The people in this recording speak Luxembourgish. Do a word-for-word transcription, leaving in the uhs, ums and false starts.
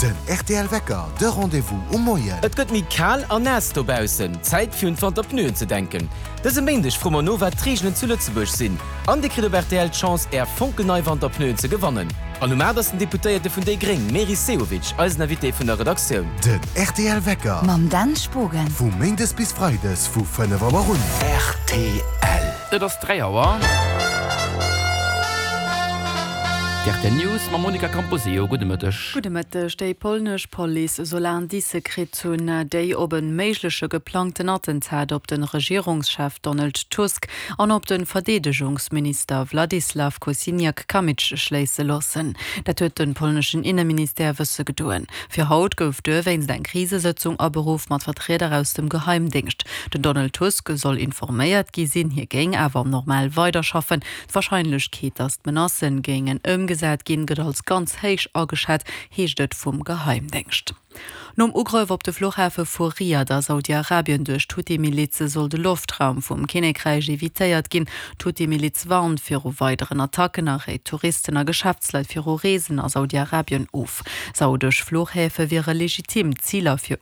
Den R T L Wecker, de Rendez-vous um Moien. Et gëtt méi kal an naass dobaussen. Zäit fir un d'Wanterpneuen ze denken. Dëse Méindeg froe mer no wat d'Reegelen zu Lëtzebuerg sinn. An Dir kritt op R T L d'Chance är fonkelnei Wanterpneuen ze gewannen. An um aacht ass den Deputéierte vun déi Gréng Meris Sehovic eisen Invité vun der Redaktioun. Den R T L Wecker. Mam Dan Spogen. Vu Méindes bis Freides vu fënnef Auer un. R T L. Et ass dräi Auer. D R T L News mam Monica Camposeo. Gudde Mëtteg. Gudde Mëtteg. Déi polnesch Police soll Indicë kritt hunn, déi op e méigleche geplangten Attentat op de Regierungschef Donald Tusk an op de Verdeedegungsminister Władysław Kosiniak-Kamysz schléisse loossen. Dat huet de polneschen Inneministère wësse gedoen. Fir haut gouf dowéinst eng Krisesëtzung aberuff mat Vertrieder aus dem Geheimdéngscht. Den Donald Tusk soll informéiert gi sinn, hie géing awer normal weiderschaffen. D'Warscheinlechkeet, datt d'Menacen géingen ëmgesat ginn, gëtt als ganz héich ageschat, heescht et vum Geheimdéngscht. Nom Ugrëff op de Fluchhafe vu Riad a Saudi-Arabien duerch d'Huthi-Milize soll de Loftraum vum Kinnekräich evitéiert ginn. D'Huthi-Miliz warnt viru weideren Attacken a réit Touristen a Geschäftsleit viru Reesen a Saudi-Arabien of. Saudesch Fluchhäfe wiere legitim Ziler fir